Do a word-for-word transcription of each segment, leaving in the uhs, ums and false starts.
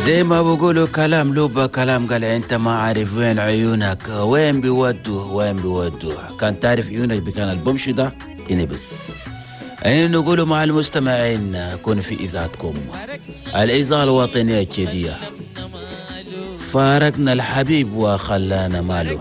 زي ما بقولوا كلام لوبا كلام، قال انت ما عارف وين عيونك وين بيودوا وين بيودوا، كان تعرف عيونك بكان البمشي ده ينبس. يعني نقولوا مع المستمعين كونوا في إذاعتكم الإذاعة الوطنية التشادية. فارقنا الحبيب وخلانا ماله،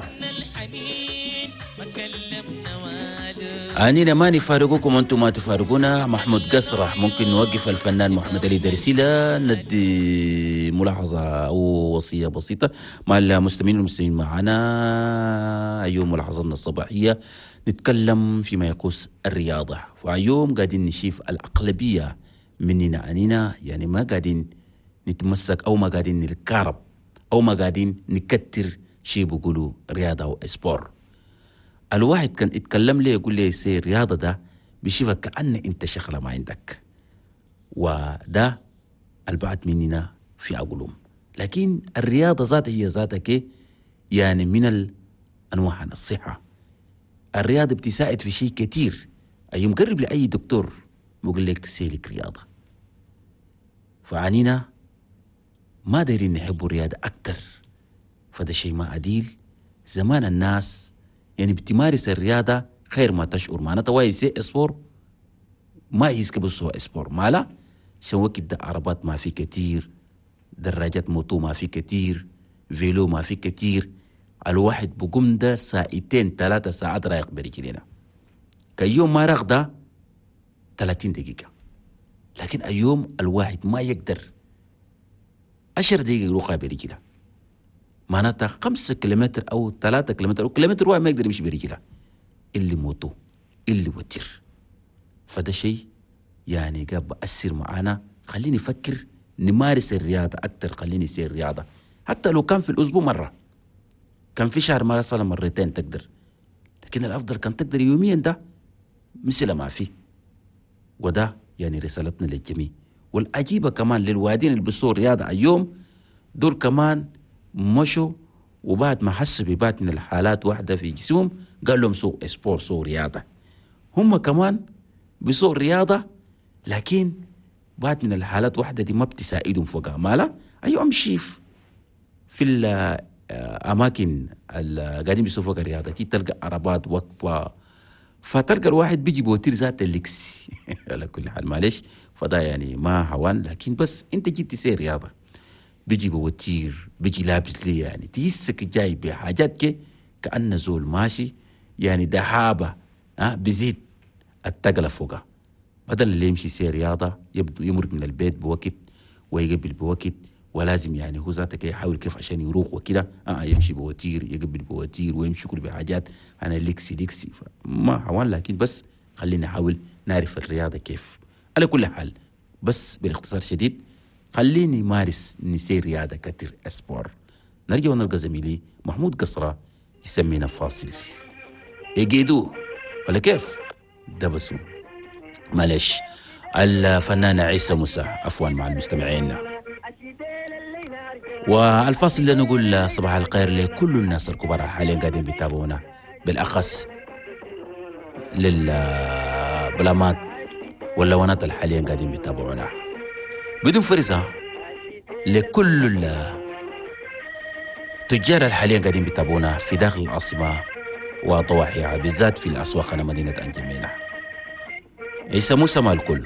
أنينا ما نفارقكم أنتم ما تفارقونا. محمود قصرة ممكن نوقف الفنان محمد علي درسيلة، ندي ملاحظة أو وصية بسيطة مع المستمعين والمستمعين معنا. أيوم ملاحظتنا الصباحية نتكلم فيما يخص الرياضة، فأيوم قاعدين نشوف الأغلبية مننا أنينا يعني ما قاعدين نتمسك أو ما قاعدين نتكارب أو ما قاعدين نكتر شيء بيقولوا رياضة أو sport. الواحد كان يتكلم لي يقول لي سي الرياضة ده بيشوفك كأن أنت شغلة ما عندك، وده البعض مننا في عقولهم. لكن الرياضة ذاتها هي ذاتك يعني من الأنواع الصحة. الرياضة بتساعد في شيء كتير. أي مقرب لأي دكتور بيقول لك سيلك رياضة. فعنينا ما دايرين نحبوا الرياضة أكتر، فده شيء ما عديل. زمان الناس يعني بتمارس الرياضة خير ما تشعر، معناتها واي سي sport ما يسكب سوا sport مالا شو وقت ده عربات ما في كتير، دراجات moto ما في كتير، vélo ما في كتير. الواحد بقوم ده ساعتين ثلاثة ساعات رايق برجلينا، كيوم ما رغده ثلاثين دقيقة، لكن أيوم الواحد ما يقدر عشر دقيقة يروح برجله، معناتها خمسة كيلومتر أو ثلاثة كيلومتر أو كيلومتر واحد ما يقدر يمشي برجله، اللي moto اللي وتر. فده شيء يعني قاب بأثر معانا. خليني أفكر نمارس الرياضة أكتر، خليني يصير رياضة حتى لو كان في الأسبوع مرة، كان في شهر مرة صار مرتين تقدر، لكن الأفضل كان تقدر يوميا ده مثل ما في. وده يعني رسالتنا للجميع. والعجيبة كمان للوادين اللي بيصور رياضة اليوم دول كمان مشوا وبعد ما حسوا ببعض من الحالات واحدة في جسمهم قال لهم سووا sport سووا رياضة. هم كمان بيسووا رياضة لكن بعد من الحالات واحدة دي ما بتساعدهم فوقها مالا. أيوة أمشي في الأماكن اللي قاعدين بيسووا فوق الرياضة دي تلقى عربات وقفة، فتلقى الواحد بيجي بوتير ذات اللكس على كل حال معلش، فده يعني ما هوان، لكن بس أنت جيت تسير رياضة بيجي بوتير بيجي لابس لي يعني تحسك جاي بحاجات كي كأنه زول ماشي يعني دهابة ها بيزيد التقلة فوقها. بدل اللي يمشي سير رياضة يبدو يمرق من البيت بوقت ويقبل بوقت، ولازم يعني هو ذاتك يحاول كيف عشان يروح وكده آه يمشي بوتير يقبل بوتير ويمشي كل بحاجات أنا لكسي لكسي ما حوال. لكن بس خلينا نحاول نعرف الرياضة كيف. على كل حال بس بالاختصار شديد خليني مارس نسير رياضة كتير sport. نرجع ونلقى زميلي محمود قصرة يسمينا فاصل يجيدوه ولا كيف ده بس معلش. الفنان عيسى موسى عفوا مع المستمعين. والفاصل اللي نقول صباح الخير لكل الناس الكبار حاليا قاعدين بيتابعونا، بالأخص للبلامات واللوانات اللي حاليا قاعدين بيتابعونا بدون فرزة، لكل التجار الحاليا قاعدين بيتابعونا في داخل العاصمة وضواحيها بالذات في الأسواق مدينة أنجمينة. عيسى موسى مع الكل.